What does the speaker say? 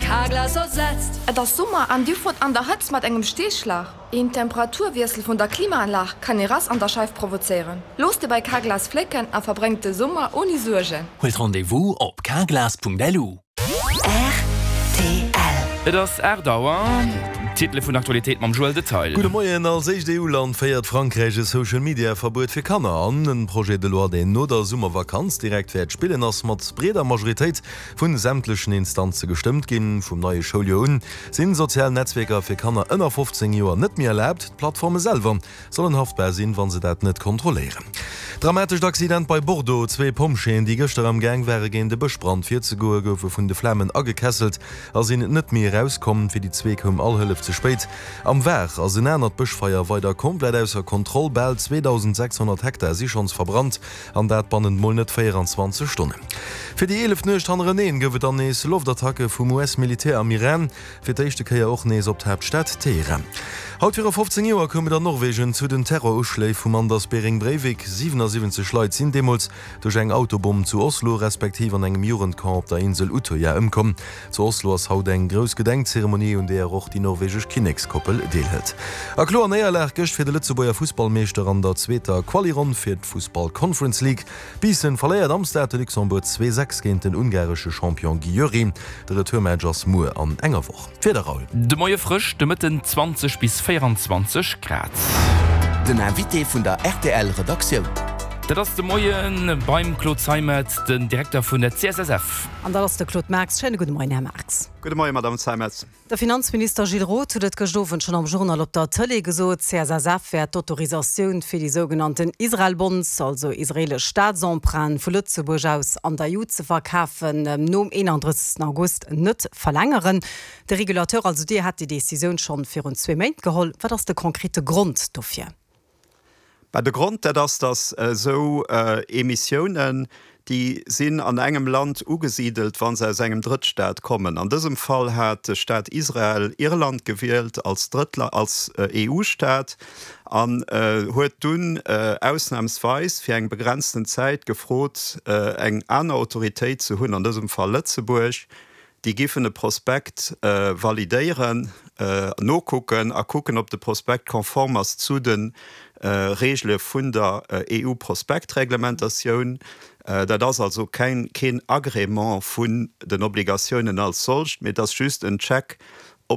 Carglass ersetzt. Et ass Summer an dir fuert an der Hëtzt mat engem Steeschlag? Een Temperaturwiessel vun der Klimaanlag kann ee Rass an der Scheif provozéieren. Looss dir bei Carglass flécken a verbréngt de Summer ouni Suergen. Huelt Rendez-vous op carglass.lu. Rtl. Et ass 8 Auer. D'Titele vun der Aktualitéit mam Joël Detail. Gudde Moien. Als éischt EU-Land féiert Frankräich e Social-Media-Verbuet fir Kanner an. En Projet de loi, deen no der Summervakanz direkt wäert spillen, ass mat breeder Majoritéit vu sämtlechen Instanze gestëmmt ginn. Vum neie Schouljoer un sinn sozial Netzwierker fir Kanner ënner 15 Joer net méi erlaabt. D'Plattforme selwer sollen haftbar sinn, wa se dat net kontrolléieren. Dramatescht Accident bei Bordeaux, Zwee Pompjeeën, déi gëschter am Gaang ware géint e Bëschbrand virzegoe, goufe vun de Flamen agekesselt a sinn net méi erauskomm. Fir déi zwee koum all Hëllef ze spéit. Am Var ass en anert Bëschfeier weider komplett ausser Kontroll. Bal 2.600 Hektar si schonns verbrannt an dat bannent mol net 24 Stonnen. Fir déi eeleft Nuecht hannereneen gouf et dann nees Loftattacke vum US-Militär am Iran. Fir d'éischte Kéier och nees op d'Haaptstad Teheran. Haut viru 15 Joer koum et an Norwegen zu den Terroruschléi vum Anders Behring Breivik. 77 Leit sinn deemools duerch eng Autobomm zu Oslo, respektiv an engem Jugendcamp op der Insel Utøya ëmkomm. Zu Oslo ass haut eng grouss Gedenkzeremonie, un deeër och déi norwegesch Kinnekskoppel deelhëlt. A kloer Néierlag gëscht fir de Lëtzebuerger Fussballmeeschter an der zweeter Quali-Ronn fir d'Fussball Conference League. Biissen verléiert am Stade de Luxembourg 2, 6 géint den ungaresche Champion Győri. De Retourmatch ass muer an enger Woch. D'Wieder, Raoul. De Moie frësch, de Mëtten 20 bis 24 Grad. Den Invité vun der rtl Redaktioun. Dat ass de Moie beim Claude Zeimetz, den Direkter vun der CSSF. An dat ass de Claude Marx. Schéine gudde Moien, Här Marx. Gudde Moien, Madame Zeimetz. De Finanzminister Gilles Roth huet et gëscht Owend schonn am Journal op der Tëlee gesot, d'CSSF wäert d'Autorisatioun fir déi sougenannten Israel-Bonds, also israeelesch Staatsemprunten, vu Lëtzebuerg aus an der EU ze verkafen, nom 31 August net verlängeren. De Regulateur, also Dir, hat déi Decisioun schonn virun zwee Méint geholl. Wat ass de konkrete Grond dofir? Bah, de Grond, dat ass, datt esou Emissiounen, déi sinn an engem Land ugesidelt, wa se aus engem Drëttstaat kommen. An dësem Fall hat de Staat Israel Irland gewielt als Drëttla-, als EU-Staat an huet dunn ausnamsweis fir eng begrenzten Zäit gefrot, eng aner Autoritéit ze hunn, an dësem Fall Lëtzebuerg, Déi giffen e Prospekt validéieren, nokucken a kucken, ob de Prospekt konform ass zu de Reegele vun der EU-Prospektreglementatioun. Dat ass also keng, keen Agrément vun den Obligatiounen als solcht, mee et ass just en Check.